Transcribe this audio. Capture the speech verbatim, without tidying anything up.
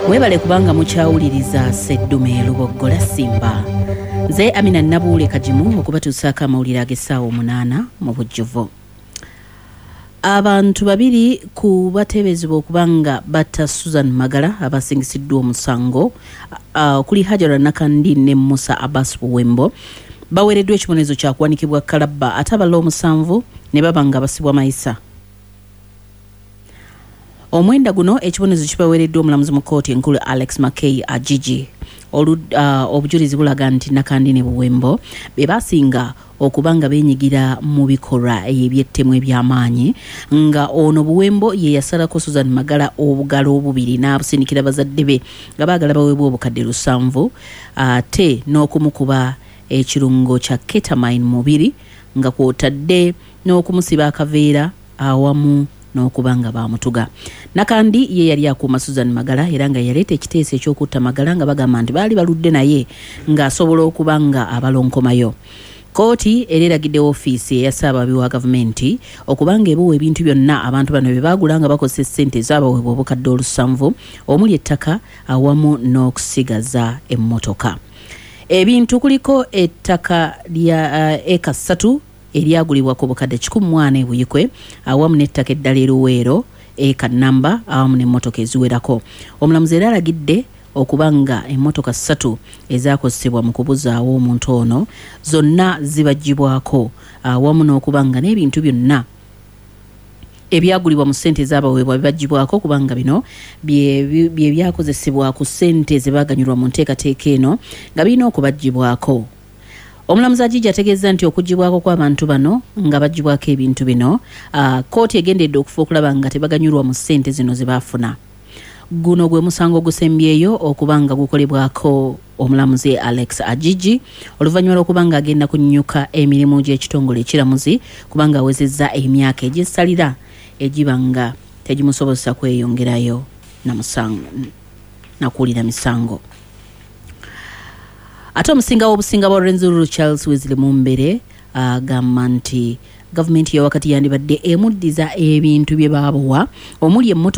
Mwebale kubanga mukyawuliriza Seddume Luboggola Simba. Nze Amina Nabuule Kagimu okubatuusaako amawulire ag'essaawa omunaana mu bujjuvu. Abantu babiri ku bateeberezebwa okuba nga batta Susan Magala abasingisiddwa omusango okuli Hajara Nakandi ne Musa Abbas Buwembo baweereddwa ekibonerezo kya kuwanikibwa kalabba, ate abalala omusanvu ne baba nga basibwa mayisa. Omwenda guno ekibonerezo kibaweereddwa omulamuzi mu kkooti enkulu Alex Mackay Ajiji. Obujulizi bulaga nti Nakandi ne Buwembo be basinga okuba nga beenyigira mu bikolwa eby'ettemu eby'amaanyi, nga ono Buwembo ye yasalako Susan Magala obugalo obubiri n'abusindikira bazadde be nga baagala baweebwa obukadde lusanvu, ate n'okumukuba ekirungo kya ketamine mubiri nga kw'otadde n'okumusiba akaveera awamu n'okuba nga baamutuga. Nakandi ye yali akuuma Susan Magala era nga yaleeta ekiteeso eky'okutta Magala nga bagamba nti baali baludde naye ng'asobola okuba nga abalonkomayo. Kkooti era eragidde ofiisi eya Ssaababaabi wa gavumenti okuba nga ebuwa ebintu byonna abantu bano bye baagula nga bakozesa essente ezaabaweebwa obukadde olusanvu omuli ettaka awamu n'okusigaza emmotoka. Ebintu kuliko ettaka lya eka ssatu eryagulibwa ku bukadde kikumi mu ana e Buikwe awamu n'ettaka eddala e Luweero eka nnamba awamu n'emmotoka eziwerako. Omulamuzi era alagidde okuba nga emmotoka ssatu ezaakozesebwa mu kubuzaawo omuntu ono zonna zibaggyibwako awamu n'okuba nga n'ebintu byonna ebyagulibwa mu ssente ezaabaweebwa bibaggyibwako, kubanga bino bye byakozesebwa ku ssente ze baaganyulwa mu nteekateeka eno nga birina okubaggyibwako. Omulamuzi Ajiji ategeezza nti okuggyibwako kw'abantu bano nga baggyibwako ebintu bino, kkooti egendedde okufa okulaba nga tebaganyulwa mu ssente zino ze baafuna. Guno gwe musango ogusembyeyo okuba nga gukolebwako omulamuzi Alex Ajiji oluvannyuma lw'okuba nga agenda kunnyuka emirimu gy'ekitongole ekiramuzi kubanga awezezza emyaka egy'essalira egiba nga tegimusobozesa kweyongerayo na musango na kuwulira misango. Ate omusinga w'obusinga bwa Rwenzururu Charles Wesley Mumbere agamba nti gavumenti ya wakati yandibadde emuddiza ebintu bye baabawa omuli emmotoka.